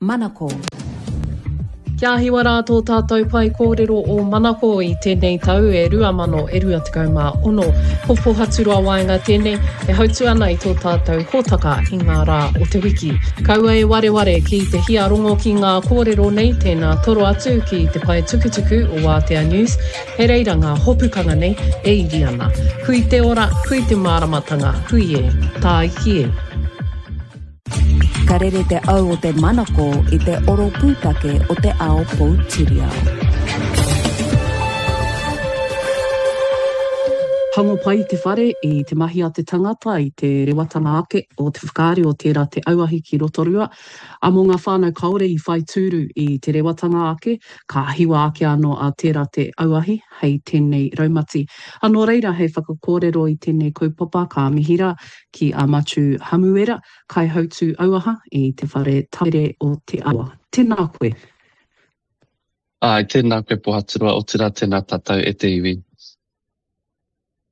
Manako. Kia hiwa rā tō tātou pae kōrero o Manako i tēnei tau e 2026. Ko Pohaturoa Waenga tēnei e hautū ana i tō tātou hōtaka i ngā rā o te wiki. Kaua e wareware ki te hia rongo ki ngā kōrero nei, tēnā toro atu ki te pae tukutuku o Wātea News, he reira ngā hopukanga nei e iri ana. Hui te ora, hui te māramatanga, hui e, tāiki e. Ka rere te au o te manako i te oro pūtake o te ao poutiriao. Tango pai te whare i te mahi a te tangata, i te rewatanga ake o te whakaari o tērā te auahi ki Rotorua. A mō ngā whānau kāore i whai tūru i te rewatanga ake, ka hiwa ake anō a tērā te auahi hei tēnei raumati. A nō reira hei whakakōrero i tēnei kaupapa ka mihi rā ki a Matiu Hamuera, Kaihautū Auaha i Te Whare Tapere o Te Awa. Tēnā koe. Āe, tēnā koe Pohaturoa, otirā tēnā tātou e te iwi.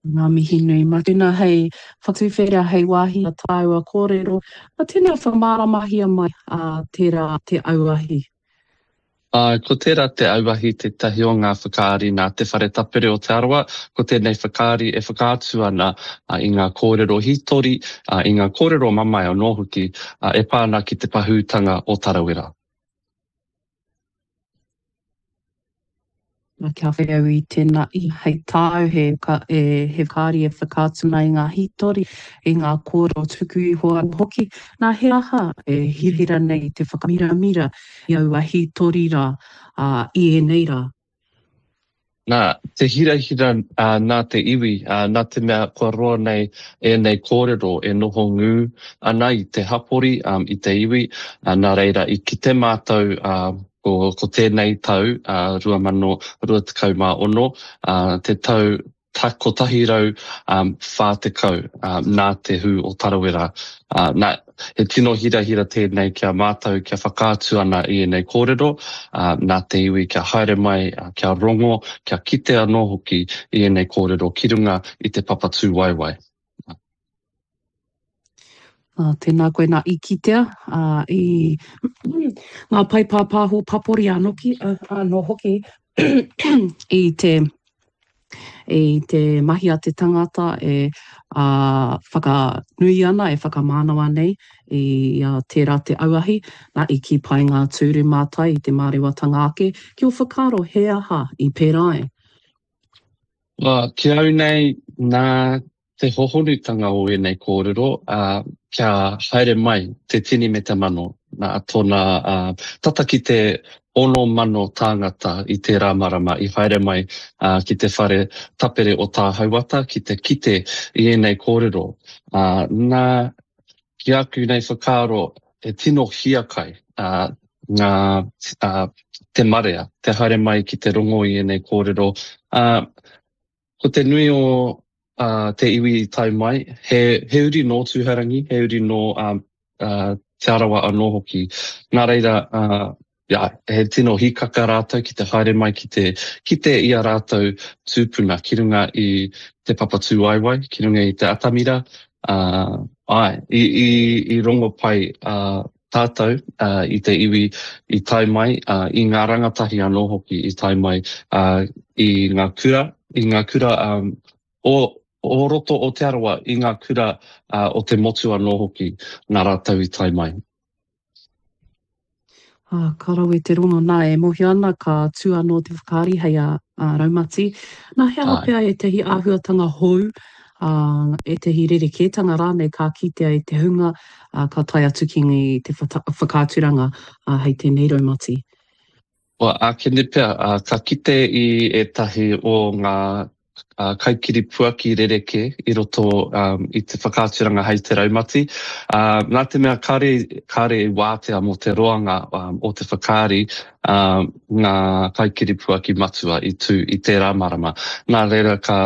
Ngā mihi nui. Mā tēnā hei whakatuwhera, hei wāhi a tāua kōrero. Mā tēnā whakamāramahia mai a tērā te auahi. Āe, ko tērā te auahi tētahi o ngā whakaari nā Te Whare Tapere o Te Arawa. Ko tēnei whakaari e whakaatu ana i ngā kōrero hītori, i ngā kōrero mamae anō hoki e pā ana ki te pahūtanga o Tarawera. Nā, kia whai au i tēnā i hei tāu he, e, he whakaari e whakaatu ana i ngā hītori, i ngā kōrero tuku iho anō hoki. Nā, he aha e hirahira nei te whakamiramira i aua hītori rā, ā, i ēnei rā? Nā, te hirahira nā te iwi, nā te mea kua roa nei ēnei kōrero e noho ngū ana i te hapori, i te iwi, nā reira i kite mātou ko tēnei tau, 2026, te tau 140 nā te hū o Tarawera. Nā, he tino hirahira tēnei ki a mātou kia whakaatu ana i ēnei kōrero, nā te iwi kia haere mai, kia rongo, kia kite anō hoki i ēnei kōrero ki runga i te papa tūwaewae. Tēnā koe nā i kitea i ngā pae pāpāho papori anō hoki i te i te mahi a te tangata e whakanui ana, e whakamānawa nei i a tērā te auahi, nā i kī pai ngā tūru mātai i te mārewatanga ake, ki ō whakaaro he aha i pērā ai? Ki au nei, nā te hohonutanga o ēnei kōrero, ā, kia haere mai te tini me te mano, nā tōna, ā, tata ki te 6,000 tāngata i tērā marama i haere mai, ā, ki te whare tapere o Tāhauata ki te kite i ēnei kōrero. Ā, nā, ki aku nei whakaaro, he tino hiakai, ā, ngā, ā, te marea, te haere mai ki te rongo i ēnei kōrero, ā, Ko te nui o te iwi i tae mai, he, he uri nō Tūhourangi, he uri nō Te Arawa anō hoki. Nā reira, yeah, he tino hīkaka rātou ki te haere mai ki te kite i a rātou tūpuna ki runga i te papa tūwaewae, ki runga i te atamira. Uh, āe, i, i, i rongo pai uh, tātou i te iwi i tae mai, i ngā rangatahi anō hoki i tae mai i ngā kura, i ngā kura o, o roto o Te Arawa, i ngā kura o te motu anō hoki, nā rātou i tae mai. Ā, ka rawe te rongo, nā, e mōhio ana ka tū anō te whakaari hei a, a Raumati. Nā, he aha pea ētahi āhuatanga hou, ā, ētahi rerekētanga rānei ka kitea e te hunga ā, ka tae atu ki te whakaaturanga hei tēnei raumati. Kua ākene pea, ā, ka kite i ētahi o ngā kaikiripuaki rerekē i roto i te whakaaturanga hei te raumati. Ā, nā te mea kāre, kāre i wātea mō te roanga o te whakaari, ā, ngā kaikiripuaki matua i tū i tērā marama. Nā reira ka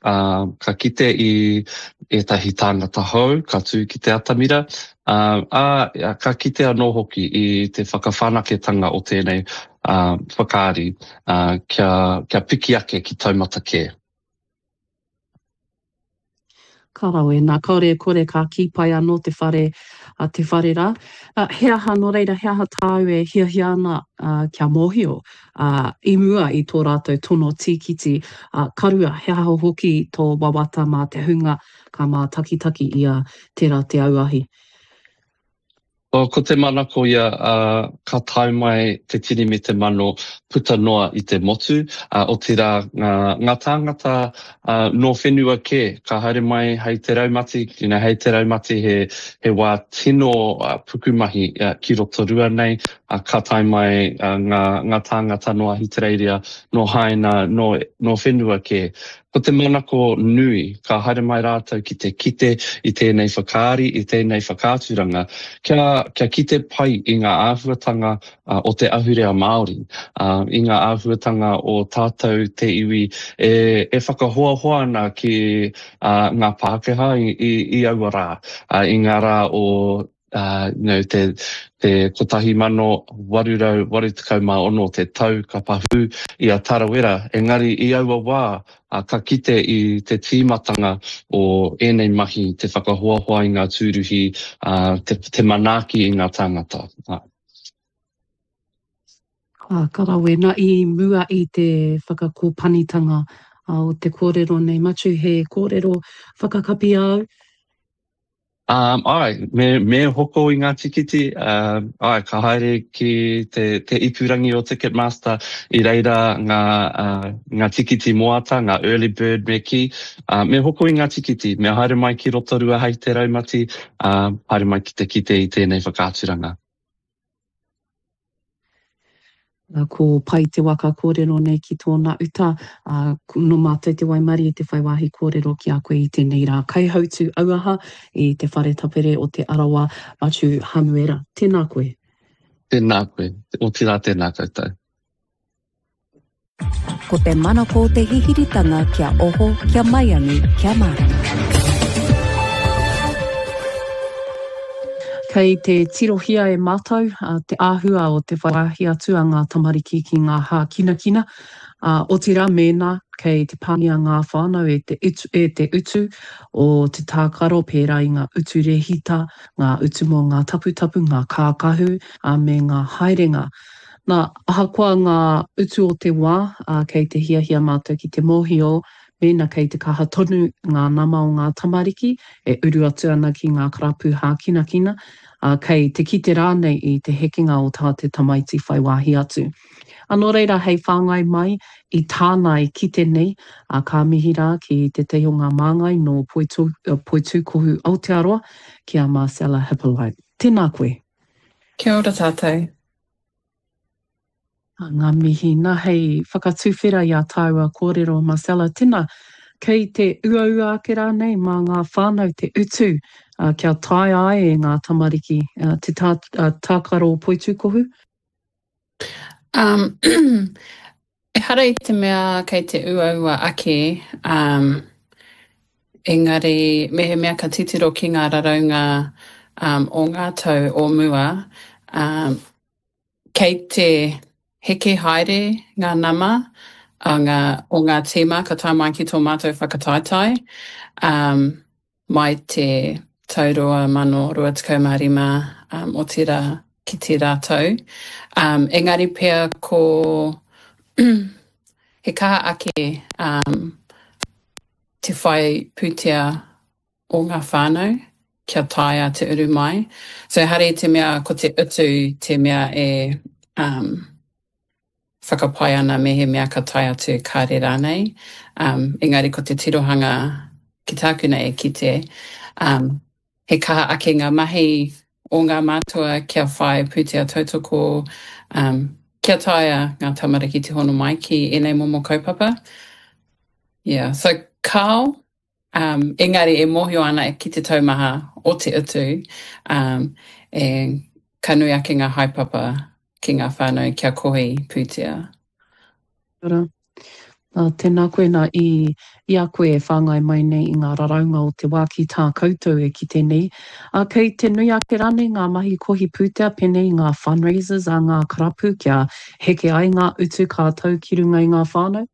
ā, ka kite i ētahi tāngata hou ka tū ki te atamira, ā, ā, ka kite anō hoki i te whakawhanaketanga o tēnei ā, whakaari, ā, kia, kia piki ake ki taumata kē. Ka rawe, nā, kāore e kore ka kī pai anō te whare, te whare rā. He aha, nō reira, he aha tāu e hiahia ana kia mōhio i mua i tō rātou tono tīkiti ka rua, he aha hoki tō wawata mā te hunga ka mātakitaki i a Tērā Te Auahi? Oh, ko te manako ia, ā, ka tae mai te tini me te mano puta noa i te motu, ā, otirā ngā, ngā tāngata, ā, nō whenua kē, ka haere mai hei te raumati, you know, hei te raumati he, he wā tino pukumahi ki Rotorua nei, ā, ka tae mai ngā, ngā tāngata nō Ahitereiria, nō Haina, nō, nō whenua kē. Ko te manako nui, ka haere mai rātou ki te kite i tēnei whakaari, i tēnei whakaaturanga, kia, kia kite pai i ngā āhuatanga o te ahurea Māori, i ngā āhuatanga o tātou te iwi e, e whakahoahoa ana ki ngā Pākehā i, i, i aua rā, i ngā rā o uh, you know, te, te 1886 te tau ka pahū i a Tarawera, engari i aua wā uh, ka kite i te tīmatanga o ēnei mahi, te whakahoahoa i ngā tūruhi, uh, te, te manaaki i ngā tāngata. Uh. Ah, ka rawe. Na, i mua i te whakakōpanitanga o te kōrero nei, Matiu, he kōrero whakakapi āu? Um, āe, me, me hoko i ngā tikiti, um, āe, ka haere ki te, te ipurangi o Ticketmaster, i reira ngā, uh, ngā tikiti moata, ngā early bird me kī, uh, me hoko i ngā tikiti, me haere mai ki Rotorua hei te raumati, uh, haere mai ki te kite i tēnei whakaaturanga. Ko Pai te waka kōrero nei ki tōna uta, ā, nō mātou te waimarie te whai wāhi kōrero ki a koe i tēnei rā. Kaihautū auaha i te whare tapere o Te Arawa, Matiu Hamuera. Tēnā koe. Tēnā koe. Otirā tēnā koutou. Ko te manako o te hihiritanga kia oho, kia maiangi, kia mārama. Kei te tirohia e mātou te āhua o te whai wāhi atu a ngā tamariki ki ngā hākinakina, ā, otirā mēnā kei te pāngia ngā whānau e te e te utu o te tākaro pērā i ngā utu rēhita, ngā utu mō ngā taputapu, ngā kākahu, ā, me ngā haerenga. Nā, ahakoa ngā utu o te wā, ā, kei te hiahia mātou ki te mōhio mēnā kei te kaha tonu ngā nama o ngā tamariki e uru atu ana ki ngā karapu hākinakina, ā, kei te kite rānei i te hekenga o tā te tamaiti whai wāhi atu. Ā, nō reira hei whāngai mai i tāna e kite nei, ā, ka mihi rā ki tētahi o ngā māngai nō Poitūkohu Aotearoa, ki a Marcella Hippolyte. Tēnā koe. Kia ora tātou. Ngā mihi. Na, hei whakatuwhera i a tāua kōrero, Marcella, tena, kei te uaua ake rānei mā ngā whānau te utu kia taea ai e ngā tamariki te tākaro poitūkohu? Um, ehara i te mea kei te uaua ake, um, engari mehemea ka titiro ki ngā raraunga um, o ngā tau o mua, um, Kei te heke haere ngā nama a ngā, o ngā tīma ka tae mai ki tō mātou whakataetae, um, mai te tau 2025, um, otirā ki tērā tau. Um, engari pea ko he kaha ake um, te whai pūtea o ngā whānau kia taea te uru mai. So ehara i te mea ko te utu te mea e um, whakapae ana mehemea ka tae atu kāre rānei. Um, engari ko te tirohanga ki tāku nei e kite, um, he kaha ake ngā mahi o ngā mātua kia whai pūtea tautoko, um, kia taea ngā tamariki te hono mai ki ēnei momo kaupapa. Yeah, so kāo, Um, engari e mōhio ana ki te taumaha o te utu, um, e, ka nui ake ngā haepapa ki ngā whānau kia kohi pūtea. Ora. Nā, tēnā koe nā i, i a koe e whāngai mai nei i ngā raraunga o te wā ki tā koutou e kite nei. Ā, kei te nui ake rānei ngā mahi kohi pūtea pēnei i ngā fundraisers a ngā karapu kia heke ai ngā utu ka tau ki runga i ngā whānau?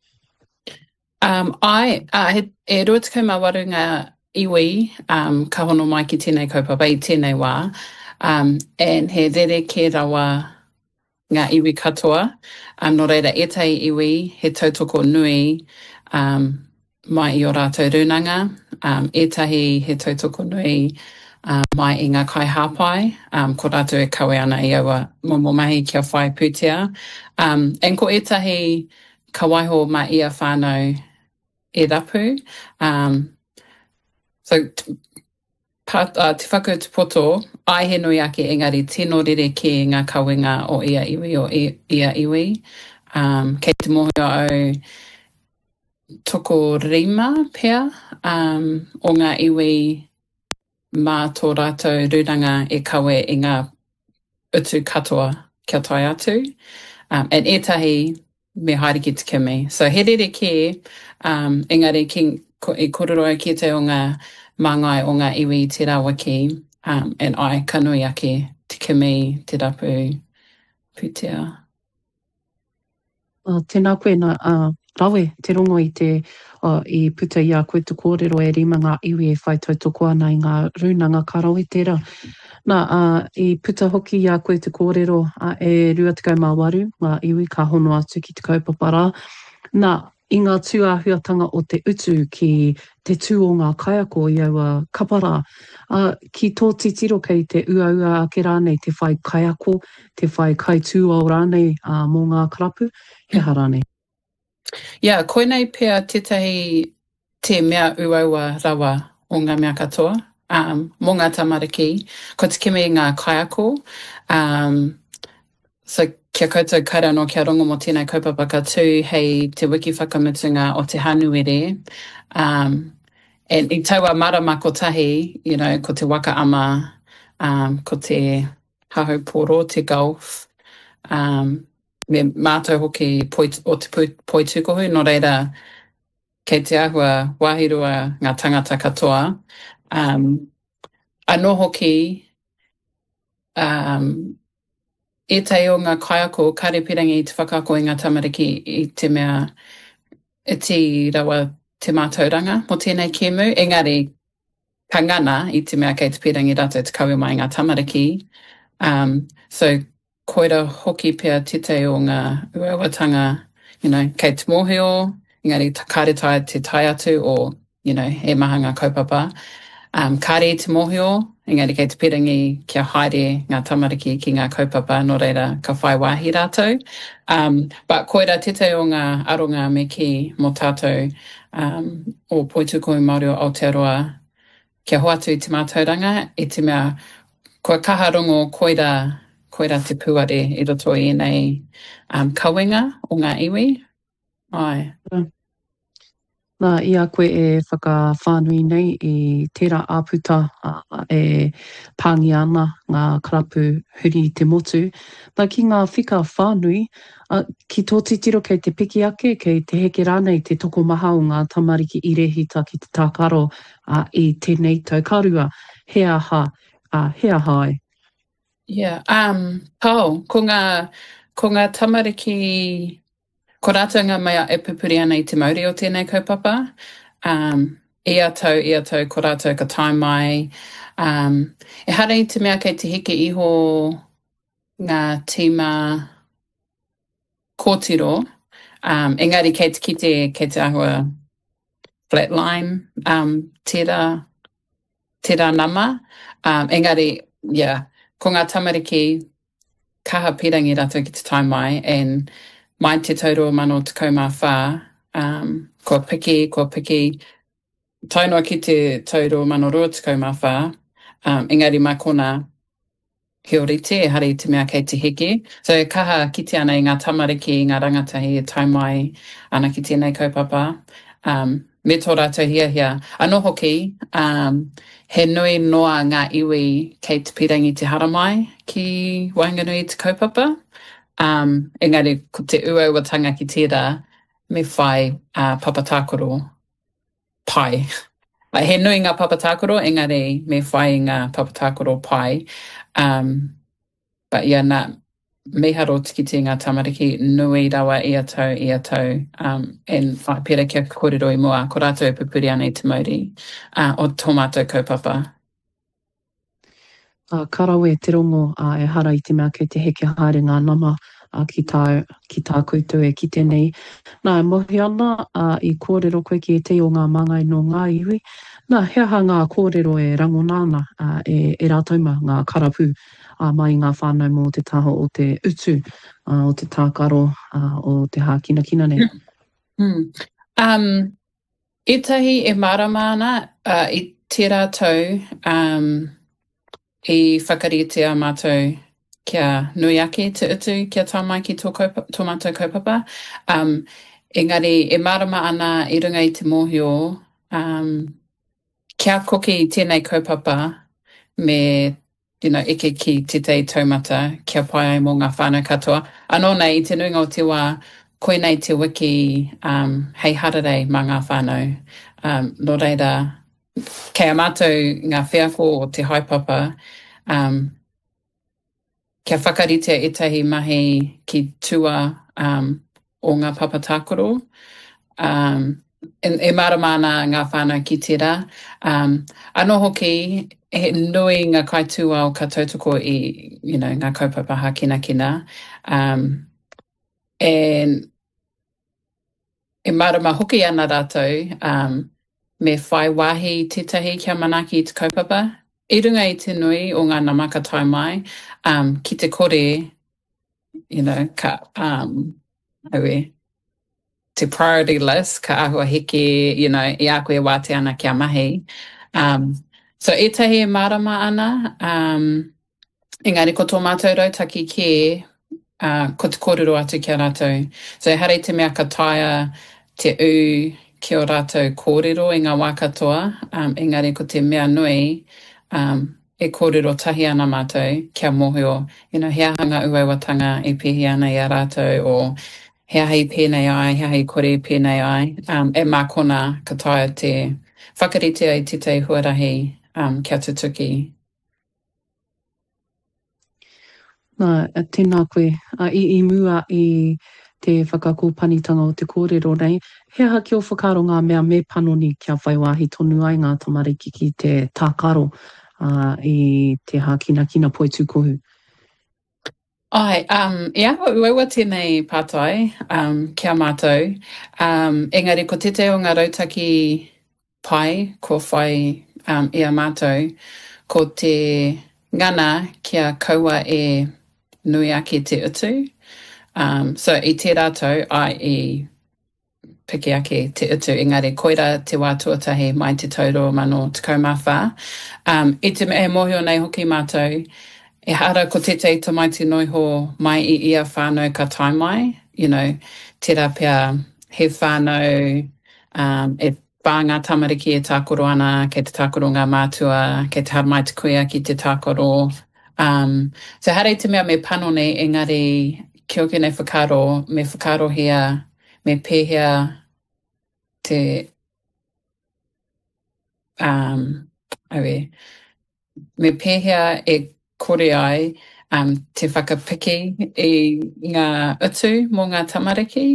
Um, āe, ā, he, e 28 ngā iwi um, ka hono mai ki tēnei kaupapa i tēnei wā, um, and he rerekē rawa ngā iwi katoa, um, nō reira ētahi iwi he tautoko nui um, mai i ō rātou rūnanga, um, ētahi he tautoko nui um, mai i ngā kaihāpai, um, ko rātou e kawe ana i aua momo mahi kia whai pūtea. Um, and ko ētahi ka waiho mā ia whānau e rapu. Um, so, pa, uh, te whakautu poto, ai he nui ake engari tino rerekē ngā kawenga o ia iwi o ia iwi. Um, kei te mōhio au tokorima pea um, o ngā iwi mā tō rātou rūnanga e kawe i ngā utu katoa kia tae atu. Um, and ētahi me haere ki te kimi. So he rerekē, um, engari ki, ko, i kōrero au ki ētahi o ngā māngai o ngā iwi i tērā wiki, um, and ai, ka nui ake te kimi, te rapu pūtea. Uh, tēnā koe, nā, uh, rawe te rongo i te, uh, i puta i a koe te kōrero e rima ngā iwi e whai tautoko ana i ngā rūnanga, ka rawe tērā. Nā, uh, i puta hoki i a koe te kōrero uh, e 28 ngā iwi ka hono atu ki te kaupapa rā. Nā, i ngā tūāhuatanga o te utu ki te tū o ngā kaiako i aua kapa rā, ā, ki tō titiro kei te uaua ake rānei te whai kaiako, te whai kaitūao rānei ā, mō ngā karapu, he aha rānei? Yeah, koinei pea tētahi te mea uaua rawa o ngā mea katoa, um, mō ngā tamariki, ko te kimi i ngā kaiako, um, so kia koutou kāre anō kia rongo mō tēnei kaupapa ka tū hei te wiki whakamutunga o te Hānuere, um, and i taua marama kotahi, you know, ko te waka ama, um, ko te hahau pōro, te golf, um, me mātou hoki poi, o te poitūkohu, nō reira, kei te āhua wāhirua ngā tangata katoa. Um, anō hoki, um, ētahi o ngā kaiako kāre pirangi i te whakaako i ngā tamariki i te mea iti rawa te mātauranga mō tēnei kēmu, engari ka ngana i te mea kei te pirangi rātou te kawe mai ngā tamariki. Um, so koira hoki pea tētahi o ngā uauatanga, you know, kei te mōhio, engari kāre taea te tae atu o, you know, he maha ngā kaupapa. Um, kāre i te mōhio, engari kei te pirangi kia haere ngā tamariki ki ngā kaupapa, nō reira ka whai wāhi rātou. Um, but koira tētahi o ngā aronga me kī mō tātou um, o Poitūkohu Māori o Aotearoa kia hoatu i te mātauranga i te mea kua kaha rongo koira, koira te puare i roto i ēnei um, kawenga o ngā iwi. Ai. Nā, i a koe e whakawhānui nei i tērā āputa e pāngia ana ngā karapu huri i te motu, nā, ki ngā whika whānui, ki tō titiro kei te piki ake, kei te heke rānei te tokomaha o ngā tamariki i rēhita ki te tākaro i tēnei tau. Ka rua, he aha, he aha ai? Yeah, um, Pao, ko ngā, ko ngā tamariki, ko rātou ngā mea e pupuri ana i te mauri o tēnei kaupapa. Um, ia tau, ia tau, ko rātou ka tae mai. Um, ehara i te mea kei te heke iho ngā tīma kōtiro, um, engari kei te kite, kei te āhua flatline um, tērā, tērā nama. Um, engari, yeah, ko ngā tamariki kaha pirangi rātou ki te tae mai, and mai te tau 2014, um, kua piki, kua piki, tae noa ki te tau 2024, um, engari mā konā, he ōrite, ehara i te mea kei te heke. So e kaha kite ana i ngā tamariki, i ngā rangatahi e tae mai ana ki tēnei kaupapa, um, me tō rātou hiahia. Anō hoki, um, he nui noa ngā iwi kei te pirangi te haramai ki waenganui i te kaupapa, um, engari ko te uauatanga ki tērā, me whai uh, papa tākaro pai. He nui ngā papa tākaro, engari me whai i ngā papa tākaro pai. Um, but yeah, nā, mīharo te kite i ngā tamariki nui rawa ia tau, ia tau, um, and whai, pērā kia kōrero i mua, ko rātou e pupuri ana i te mauri uh, o tō mātou kaupapa. Ā, ka rawe te rongo, ā, ehara i te mea kei te heke haere ngā nama, ā, ki tā, ki tā koutou e kite nei. Nā, e mōhio ana, ā, i kōrero koe ki ētahi o ngā māngai nō ngā iwi. Nā, he aha ngā kōrero e rangona ana, ā, e, e rātou mā, ngā karapū, ā, mai i ngā whānau mō te taha o te utu, ā, o te tākaro, ā, o te hākinakina nei? Mm. Um, Ētahi e mārama ana, ā, i tērā tau, um, i whakaritea mātou kia nui ake te utu kia tae mai ki tō kaupa, tō mātou kaupapa. Um, engari e mārama ana i runga i te mōhio, um, kia koke i tēnei kaupapa me you know, eke ki tētahi taumata kia pai ai mō ngā whānau katoa. Anō nei, i te nuinga o te wā, koinei te wiki um, hei hararei mā ngā whānau. Um, nō reira, kei a mātou ngā wheako o te haepapa um, kia whakaritea ētahi mahi ki tua um, o ngā papa tākaro. Um, e, e mārama ana ngā whānau ki tērā. Um, anō hoki, he nui ngā kaitūao ka tautoko i you know, ngā kaupapa hākinakina. Um, and e mārama hoki ana rātou um, me whai wāhi tētahi kia manaaki i te kaupapa. I runga i te nui o ngā nama ka tae mai, um, ki te kore you know, ka, um, aue, te priority list, ka āhua heke, you know, i a koe e wātea ana kia mahi. Um, so ētahi e mārama ana, um, engari ko tō mātou rautaki kē, uh, ko te kōrero atu ki a rātou. So ehara i te mea ka taea te ū ki ō rātou kōrero i ngā wā katoa, um, engari ko te mea nui, um, E kōrero tahi ana mātou kia mōhio, you know, he aha ngā uauatanga e pēhi ana i a rātou o he aha i pēnei ai, he aha i kore i pēnei ai, um, e mā konā ka taea te whakarite ai tētahi huarahi um, kia tutuki. Nā, tēnā koe. I, i mua i te whakakōpanitanga o te kōrero nei, he aha ki ō whakaaro ngā mea me panoni kia whai wāhi tonu ai ngā tamariki ki te tākaro i te hākinakina poitūkohu? Āe, um, i āhua uaua tēnei pātai um, ki a mātou, um, engari ko tētahi o ngā rautaki pai kua whai um, i a mātou, ko te ngana kia kaua e nui ake te utu. Um, so i tērā tau, āe, i piki ake te utu, engari koirā te wā tuatahi mai te tau 2014. Um, i te mea e mōhio nei hoki mātou, ehara ko tētahi tamaiti noiho mai i ia whānau ka tae mai, you know, tērā pea he whānau um, e whā ngā tamariki e tākaro ana, kei te tākaro ngā mātua, kei te haramai te kuia ki te tākaro. Um, so ehara i te mea me panoni, engari ki ōku nei whakaaro, me whakaarohia, me pēhea te um, aue, Me pēhea e kore ai um, te whakapiki i ngā utu mō ngā tamariki?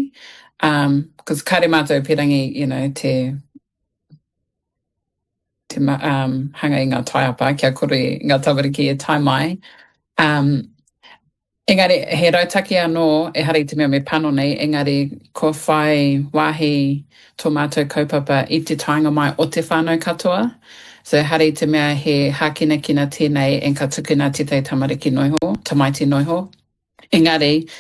Um, cause kāre mātou pērangi, you know, te, te um, hanga i ngā taiapa kia kore ngā tamariki e tae mai. Um, Engari, he rautaki anō, ehara i te mea me panoni, engari kua whai wāhi tō mātou kaupapa i te taenga mai o te whānau katoa. So ehara i te mea he hākinakina tēnei and ka tukuna tētahi tamariki noiho, tamaiti noiho. Engari,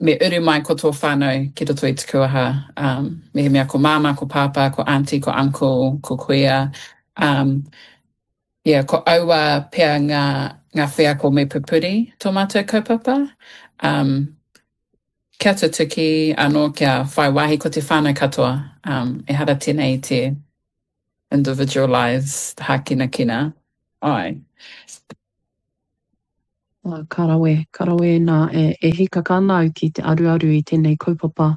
me uru mai ko tō whānau ki roto i te kuaha, um, mehemea ko māmā, ko pāpā, ko aunty, ko uncle, ko kuia, um, Yeah, ko aua pea ngā, ngā wheako me pupuri tō mātou kaupapa. Um, kia tutuki anō kia whai wāhi ko te whānau katoa. Um, ehara tēnei i te individualised hākinakina. Āe. Ka rawe, ka rawe nā, e, e hīkaka ana au ki te aruaru i tēnei kaupapa.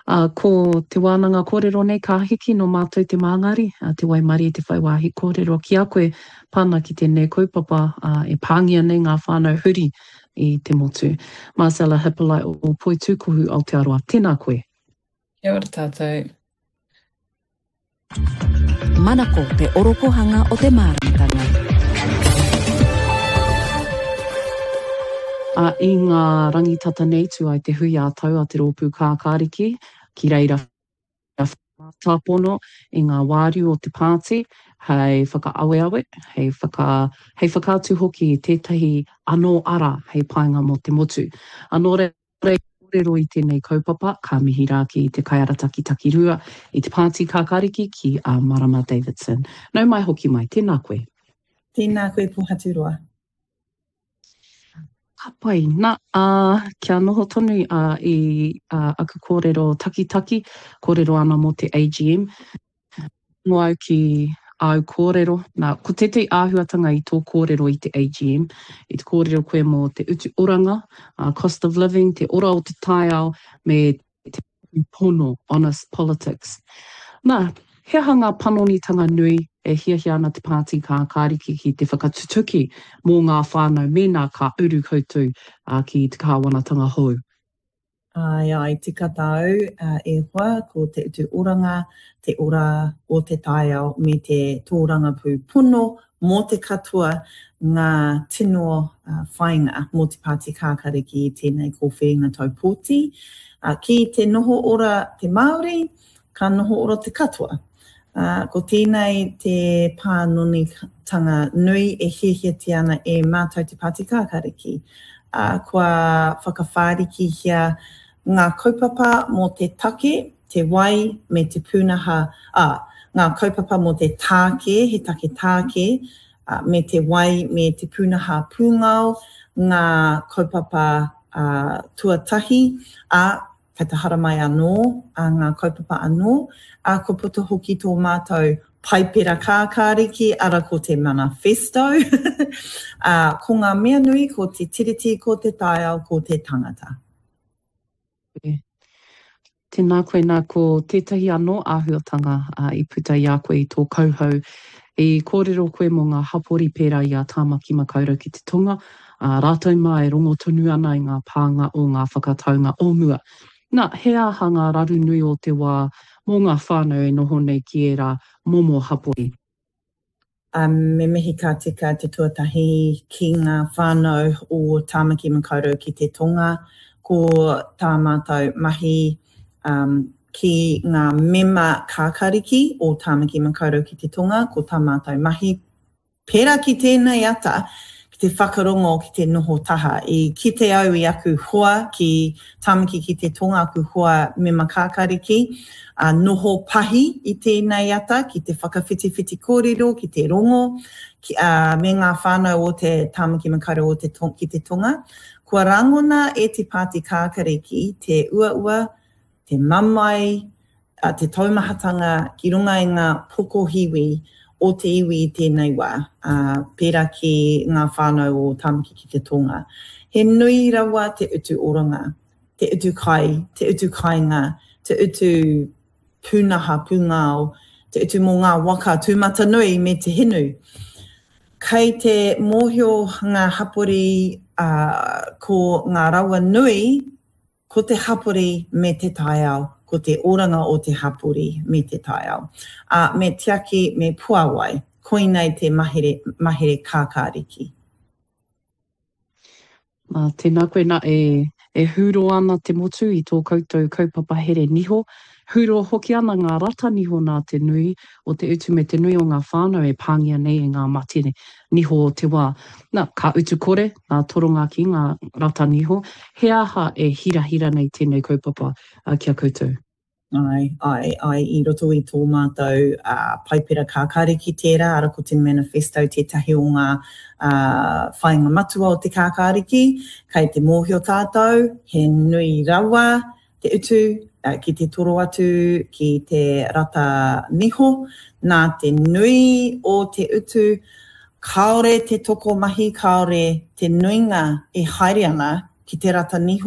Ā, ko te wānanga kōrero nei ka hiki nō mātou te māngari, te waimarie te whai wāhi kōrero ki a koe pā ana ki tēnei kaupapa, ā, e pāngia nei ngā whānau huri i te motu. Marcella Hippolite o Poitūkohu Aotearoa, tēnā koe. Kia ora tātou. Manako te orokohanga o te māramatanga. Ā, i ngā rangi tata nei tū ai te hui ā-tau a Te Rōpū Kākāriki, ki reira whakamatāpono i ngā wāriu o te pāti hei whakaaweawe, hei whaka, hei whakaatu hoki i tētahi anō ara hei painga mō te motu. Ā, nō reira, kōrero i tēnei kaupapa, ka mihi rā ki te kaiarataki takirua i te Pāti Kākāriki ki a Marama Davidson. Nau mai hoki mai, tēnā koe. Tēnā koe Pohaturoa. Ka pai. Na, ā, kia noho tonu ā, i ā, aku kōrero takitaki, kōrero ana mō te AGM. Rongo au ki āu kōrero. Nā, ko tētahi āhuatanga i tō kōrero i te AGM, i te kōrero koe mō te utu oranga, ā, cost of living, te ora o te taiao, me te pono, honest politics. Nā, he aha ngā panonitanga nui e hiahia ana te Pāti Kākāriki ki te whakatutuki mō ngā whānau mēnā ka uru koutou ki te kāwanatanga hou? Āe, āe, tika tāu, e hoa, ko te utu oranga, te ora o te taiao me te tōrangapū pono mō te katoa ngā tino whāinga mō te Pāti Kākariki i tēnei kōwhiringa tau pōti. Ki te noho ora te Māori, ka noho ora te katoa. Ko tēnei te pānonitanga nui e hiahiatia ana e mātou te Pāti Kākariki. Kua whakawhārikihia ngā kaupapa mō te take, te wai me te pūnaha, ā, ngā kaupapa mō te tāke, he take tāke, ā, me te wai me te pūnaha pūngao, ngā kaupapa, ā, tuatahi, ā, kei te haramai anō, ā, ngā kaupapa anō, ā, kua puta hoki tō mātou Paipera Kākāriki, ara ko te manifesto, ā, ko ngā mea nui ko te Tiriti, ko te taiao, ko te tangata. Tēnā koe, nā, ko tētahi anō āhuatanga i puta i a koe i tō kauhau, i kōrero koe mō ngā hapori pērā i a Tāmaki Makaurau ki te Tonga, ā, rātou mā e rongo tonu ana i ngā pānga o ngā whakataunga o mua. Nā, he aha ngā raru nui o te wā mō ngā whānau e noho nei ki ērā momo hapori? Me mihi ka tika te tuatahi ki ngā whānau o Tāmaki Makaurau ki te Tonga. Ko tā mātou mahi ki ngā mema kākariki o Tāmaki Makaurau ki te Tonga, ko tā mātou mahi Pērā ki tēnei ata, ki te whakarongo, ki te noho taha. I kite au i aku hoa ki Tāmaki ki te Tonga, aku hoa mema kākariki, ā, noho pahi i tēnei ata ki te whakawhitiwhiti kōrero, ki te rongo, ki, ā, me ngā whānau o te Tāmaki Makaurau o te ki te Tonga. Kua rangona e te Pāti Kākariki te uaua, te mamae, te taumahatanga ki runga i ngā pokohiwi o te iwi i tēnei wā, ā, pērā ki ngā whānau o Tāmaki ki te Tonga. He nui rawa te utu oranga, te utu kai, te utu kāinga, te utu pūnaha pūngao, te utu mō ngā waka tūmatanui me te hinu. Kei te mōhio ngā hapori, ā, ko ngā rawa nui Ko te hapori me te taiao, ko te oranga o te hapori me te taiao. Ā, me tiaki, me puāwai. Koinei te mahere, mahere kākāriki. Nā, tēnā koe, nā, e, e hūro ana te motu i tō koutou kaupapa here niho. Hūro hoki ana ngā rata niho nā te nui o te utu me te nui o ngā whānau e pāngia nei e ngā mate niho o te wā. Nā, ka utu kore ngā toronga ki ngā rata niho. He aha e hirahira nei tēnei kaupapa ki a koutou? Āe, āe, āe, i roto i tō mātou Paipera Kākāriki tērā, ara ko te manifesto tētahi o ngā whāinga matua o te Kākāriki. Kei te mōhio tātou, he nui rawa te utu ki te toro atu ki te rata niho, nā te nui o te utu, kāore te tokomahi, kāore te nuinga e haere ana ki te rata niho.